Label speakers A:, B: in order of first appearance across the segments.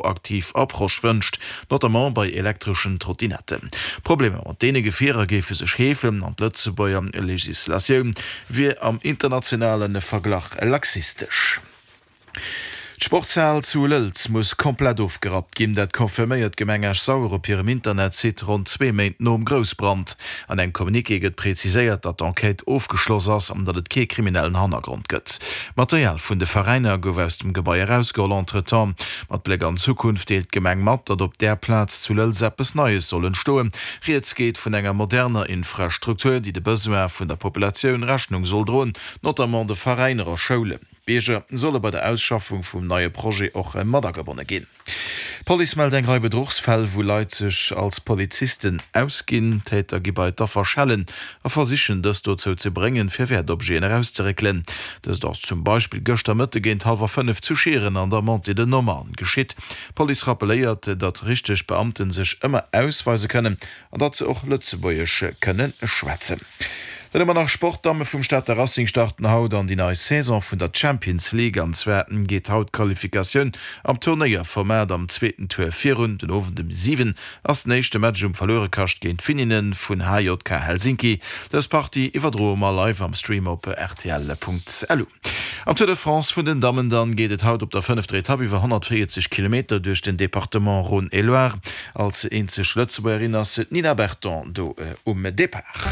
A: Proaktiv Approche wënscht, notamment bei elektreschen Trottinetten. D'Problemer mat deene Gefierer géife sech heefen an d'Lëtzebuerger Legislatioun wier am internationale Verglach laxistesch. D'Sportshal zu Lëlz muss komplett ofgerappt ginn. Dat confirméiert d'Gemeng Esch-Sauer op hirem Internetsite ronn zwee Méint nom Groussbrand. An engem Communiqué gëtt preziséiert, datt d'Enquête ofgeschloss ass an datt et kee kriminellen Hannergrond gëtt. D'Material vun de Veräiner gouf aus dem Gebai erausgeholl. Entretemps, mat Bléck an d'Zukunft, deelt d'Gemeng mat, datt op där Plaz zu Lëlz eppes Neies soll entstoen. Rieds geet vun enger moderner Infrastruktur, déi de Besoin vun der Populatioun Rechnung soll droen, notamment de Veräiner a Schoulen. D'Bierger solle bei der Ausschaffung vum neie Projet och matagebonne ginn. D'Police mellt eng Rei Bedruchsfäll, wou Leit sech als Polizisten ausginn. D'Täter gi bei d'Affer schellen a versichen dës dozou ze bréngen, fir Wäertobjeten erauszeréckelen. Dëst ass zum Beispill gëschter Mëtte géint hallwer 5 zu Schieren an der Montée de Nommern geschitt. D'Police rappelléiert, datt richteg Beamte sech ëmmer ausweise kënnen An datt se och Lëtzebuergesch kënne schwätzen. Dann hu mer nach Sport, D'Damme vum Stater Racing starten haut an déi nei Saison vun der Champions League. An zwar geet haut d'Qualifikatioun am Turnéierformat am zweeten Tour virun. Den Owend um 7 ass den éischte Match um Verluerekascht géint d'Finninne vun HJK Helsinki. Dës Partie iwwerdroe mer live am Stream op rtl.lu. Am Tour de France vun den Dammen dann geet et haut op der fënnefter Etapp iwwer 140 Kilometer duerch den Departement Rhône et Loire. Als eenzeg Lëtzebuergerin ass d'Nina Berton do um Depart.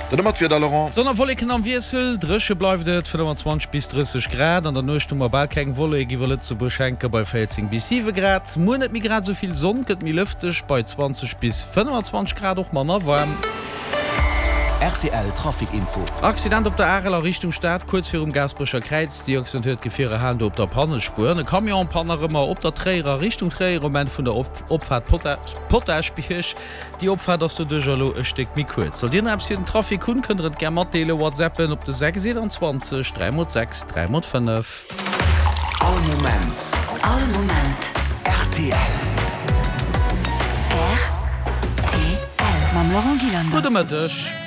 A: Dann hu mer d'Wieder, Laurent.
B: Sonn a Wolleken am Wiessel, dréche bleift et, 25 bis 30 Grad. An der Nuecht hu mer bal keng Wollek iwwer Lëtzebuerg hänke bei 14 bis 7 Grad. Muer net méi grad esou vill Sonn, gëtt méi lëfteg bei 20 bis 25 Grad, och manner waarm.
C: Rtl Trafic Info.
B: Accident op der Arel a Richtung Stad, kuerz virum Gaasperecher Kräiz. Déi Accident huet d'Gefierer halen do op der Pannespuer. An e Camion en panne nach ëmmer op der Tréierer Richtung Tréier um Enn vun der Opfaart Potaschbierg. Déi Opfaart ass doduercher elo e Stéck méi kuerz. Sollt Dir nach eppes fir den Trafic hunn, kënnt der et gär matdeelen. Whatsappen op de 6 21 3 x 6 3 x 5.
C: All Moment.
D: All Moment.
C: Rtl.
D: Rtl. Mam Laurent Gillander.
B: Gudde Mëtteg.